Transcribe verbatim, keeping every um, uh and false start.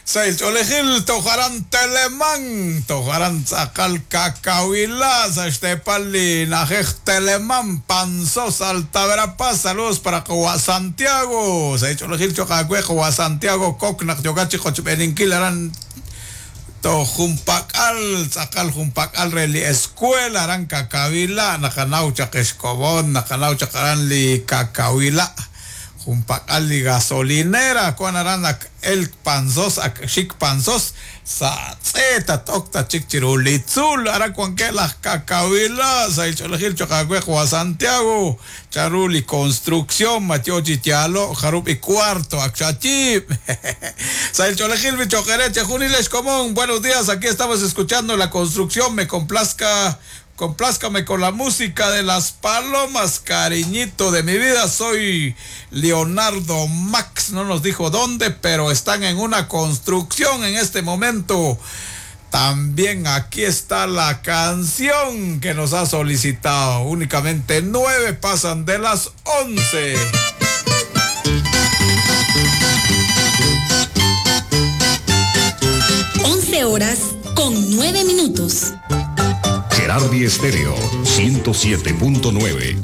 Sahil ch'oolejil toj aran Telemán, toj aran tz'aqal Kakawila, sa' xteepal li na'ajej Telemán, Panzós, Alta Verapaz. Saludos para qawa' Santiago. Sahil ch'oolejil cho'q aawe qawa' Santiago Kok naq yookat chi qochb'eeninkil aran toj junpak'al, tz'aqal junpak'al re li escuela aran Kakawila. Naqanaw chaq xkomon, naqanaw chaq aran li Kakawila. Junpak'al li gasolinera, wan aran ak el Panzós, ak xik Panzós, sa' tz'e tatok tachik chiru li tzuul, aran wankeb' laj Kakawila, sahil ch'oolejil cho'q aawe qawa' Santiago, chanru li construcción, ma yo chi yaalo', jarub' y cuarto ak xayiib'. Sahil ch'oolejil mi cho'q eere chejunilex xkomon. Buenos días, aquí estamos escuchando la construcción, me complazca, complázcame con la música de las palomas, cariñito de mi vida. Soy Leonardo Max, no nos dijo dónde, pero están en una construcción en este momento. También aquí está la canción que nos ha solicitado. Únicamente nueve pasan de las once. Once horas con nueve minutos. Gerardi Estéreo, ciento siete punto nueve.